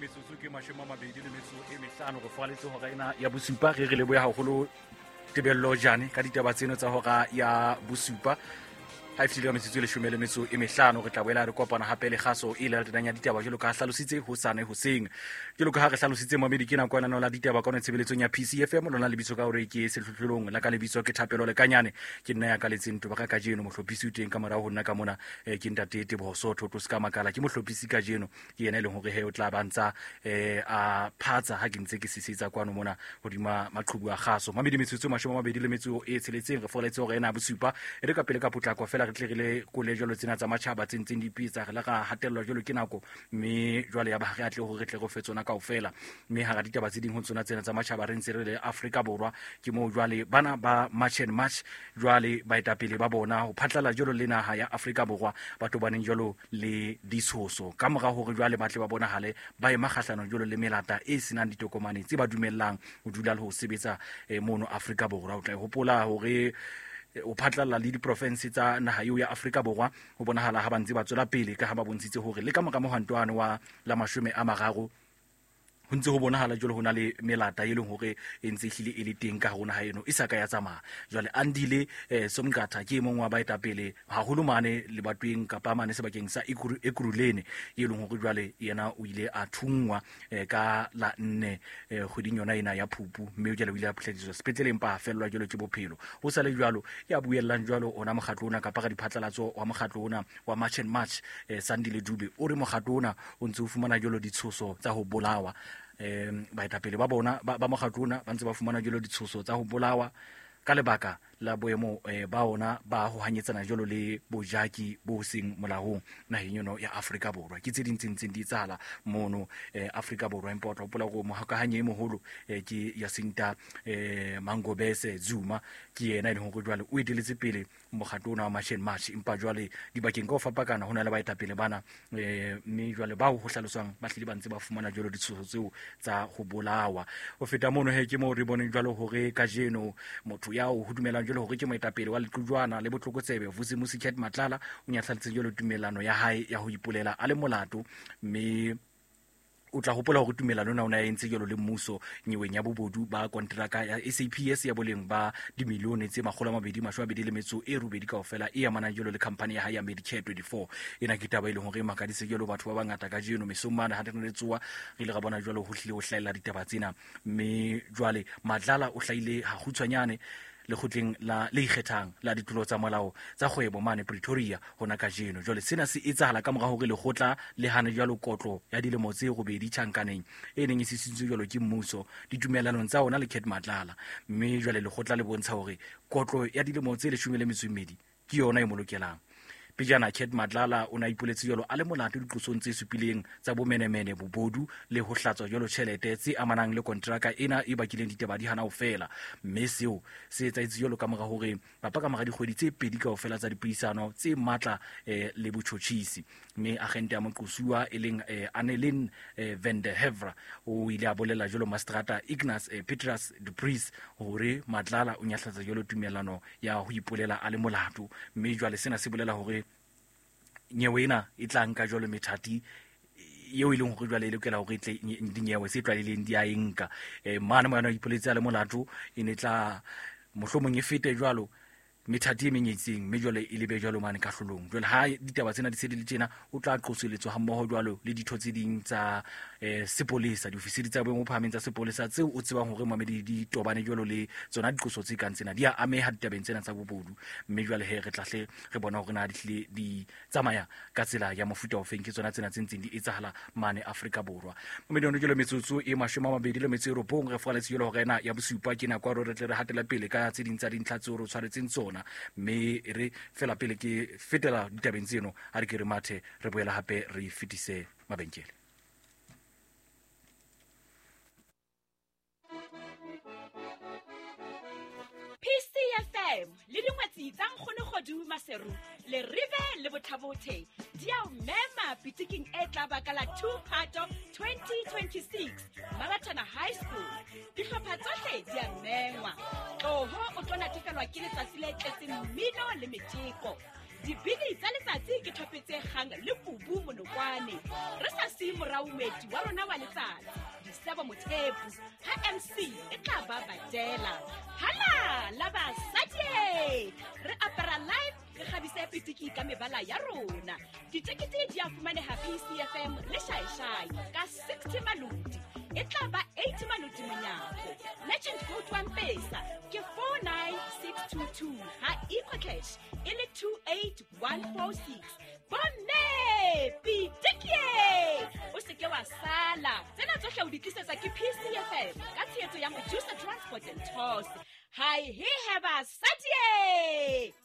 Metsotso ke 25 re foaletse hora ena ya bosupa. Re re lebohe haholo Tebello Jane ka ditaba tseno tsa hora ya bosupa. Ha e fihlile ka metsotso e 15 re tla boela re kopana hape le kgaso e latelang ya ditaba jwalo ka ha hlalositse hosane hoseng. Jwalo ka ha re hlalositse mamedi, ke nako ya lenaneo la ditaba ka tshebeletsong ya PCFM. Lona lebitso ka hore ke sehlohlolong la ka lebitso ke Thapelo Lekanyane, ke nna ya kaletseng toba ka kajeno. Mohlophisi o teng ka morao ho nna ka mona, ke ntate Teboho Sotho tlo se ka makala, ke mohlophisi kajeno, ke yena e leng hore he o tla ba ntsa a phatsa ha ke ntse ke sisetsa kwano mona hodima maqhubu a kgaso. Mamedi, metsotso 26 re foletse hore ena bosupa. E re ka pele ka potlako fela re tle re le kole jwalo tsena tsa matjhaba tse ntseng di ipetsa, re la ra hatellwa jwalo ke nako, mme jwale ya ba ha re atle hore re tle re fe tsona kaofela. Mme hara ditaba tse ding ho tsona tsena tsa matjhaba, re ntse re le Afrika Borwa, ke moo jwale bana ba March and March jwale baetapele ba bona ho phatlalla jwalo le naha ya Afrika Borwa ba tobaneng jwalo le ditshoso ka mora hore jwale ba tle ba bonahale ba ema kgahlano jwalo le melata e senang ditokomane tse ba dumellang ho dula le ho sebetsa mono Afrika Borwa. O tla e hopola hore o phatlalla le diprofense tsa naha eo ya Afrika Borwa ho bonahala ha ba ntse ba tswela pele, ka ha ba bontshitse hore le ka mora mohwantoane wa la 30 ho ntse ho bonahala jwalo ho na le melata e leng hore e ntse e hlile e le teng ka hare ho naha eno e sa ka ya tsamaya. Jwale Andile Somqatha ke e mong wa baetapele haholo mane lebatoweng kapa mane sebakeng sa Ekurhuleni, e leng hore jwale yena o ile a thunngwa ka la 4 kgweding yona ena ya Phupu, mme jwale o ile a phutlhadiswa sepetlele empa a fellwa jwalo ke bophelo. Ho sale jwalo ya buellang jwalo ona mokgatlo ona kapa radiphatlalatso wa mokgatlo ona wa March and March, Sandile Dube, o re mokgatlo ona o ntse o fumana jwalo ditshoso tsa ho bolawa. Baetapele ba bona ba mokgatlo ona ba ntse ba fumana jwalo ditshoso tsa ho bolawa ka lebaka la boemo ba ona ba ho hanyetsana jwalo le bojaki bo seng molaong naheng eno ya Afrika Borwa. Ke tse ding tse ntseng di etsahala mono Afrika Borwa, empa o tla hopola hore mohokahanyi e moholo ke Jacinta Mangobese Zuma, ke yena e leng hore jwale o eteletse pele mokgatlo ona wa March and March. Empa jwale dibakeng ka ho fapakana ho na le baetapele bana, mme jwale bao ho hlaloswang ba hlile ba ntse ba fumana jwalo ditshoso tseo tsa ho bolawa. Ho feta mono he, ke moo re boneng jwalo hore kajeno motho ya o dumelang jwalo hore ke moetapele wa lequjwana le botlokotsebe Vusimusi Cat Matlala o nyahlaletse jwalo tumelano ya hae ya ho ipolela a le molato, mme o tla hopola hore tumelano ena o ne a entse jwalo le mmuso nyeweng ya bobodu ba konteraka ya SAPS ya boleng ba dimilione tse 228 kaofela e amanang jwalo le khampani ya hae ya Medicare 24. Ena ke taba e leng hore e makaditse jwalo batho ba bangata kajeno mesong mane ha re ne re tsoha, re ile ra bona jwalo ho hlile ho hlahella ditaba tsena. Mme jwale Matlala o hlahile hakgutshwanyane lekgotleng la le ikgethang la ditulo tsa molao tsa kgwebo mane Pretoria hona kajeno. Jwale sena se etsahala ka mora hore lekgotla le hane jwalo kotlo ya dilemo tse 8 tjhankaneng e neng e sisintswe jwalo ke mmuso ditumellanong tsa ona le Cat Matlala. Mme jwale lekgotla le bontsha hore kotlo ya dilemo tse 12 ke yona e mo lokelang. Pejana Cat Matlala o ne a ipoletse jwalo a le molato diqosong tse supileng tsa bomenemene, bobodu le ho hlatswa jwalo tjhelete tse amanang le kontraka ena e bakileng ditaba di hana ho fela. Mme seo se etsahetse jwalo ka mora hore kapa ka mora dikgwedi tse 2 kaofela tsa dipuisano tse matla le botjhotjhisi. Mme agente ya moqosuwa e leng Annelien van der Heever o ile a bolela jwalo mastrata Ignas Petrus du Preez hore Matlala o nyahlatsa jwalo tumellano ya ho ipolela a le molato. Mme jwale sena se bolela hore nyewe ena e tla nka jwalo methati eo e leng hore jwale e lokela hore e tle dinyewe tse tlwaelehileng di a e nka. Mane mo yona o ipoletse a le molato, e ne tla mohlomong e fete jwalo methati e meng e itseng, mme jwale e lebe jwalo mane kahlolong. Jwale ha ditaba tsena di se di le tjena, o tla qoseletswa hammoho jwalo le ditho tse ding tsa sepolesa, diofisiri tsa boemo bo phahameng tsa sepolesa tseo o tsebang hore mamedi di tobane jwalo le tsona diqoso tse kang tsena, di a ameha ditabeng tsena tsa bobodu. Mme jwale he re tla hle re bona hore na di hlile di tsamaya ka tsela ya mofuta ofeng. Ke tsona tsena tse ntseng di etsahala mane Afrika Borwa. Mamedi ono jwalo metsotso e 29 re foaletse jwalo hore ena ya bosupa ke nako ya hore re tle re hatele pele ka tse ding tsa dintlha tseo re tshwaretseng tsona. Mme re fela pele ke fetela ditabeng tseno, ha re ke re mathe re boela hape re fetise mabenkele. PCFM le dingwetsi tsa Nkgono Kgodu Maseru le Rive le Botlhabothe di a o mema pitiking e tla baka la 2 Phato 2026 Maratona High School. Dihlopha tsohle di a mengwa. Tloho o tlo natefelwa ke letsatsi le tletseng mmino le meteko. Dibini tsa letsatsi ke thope tse kgang le kubu monokwane. Re sa siye morao moeti wa rona wa letsatsi, Disebo Mothepu, ha MC e tla ba badela. Hala la basadi! Re apara live, re kgabise pitiki ka mebala ya rona. Ditekete di a fumaneha PCFM le Shaeshai ka 60 maloti. E tla ba 80 maloti monyako. Legend code wa Mpesa ke 49622, ha EcoCash e le 28146. Bomme pitikie, o se ke wa sala. Tsena tsohle o di tlisetsa ke PCFM ka tshehetso ya Mojusa Transport and Tours. Hai he he basadi!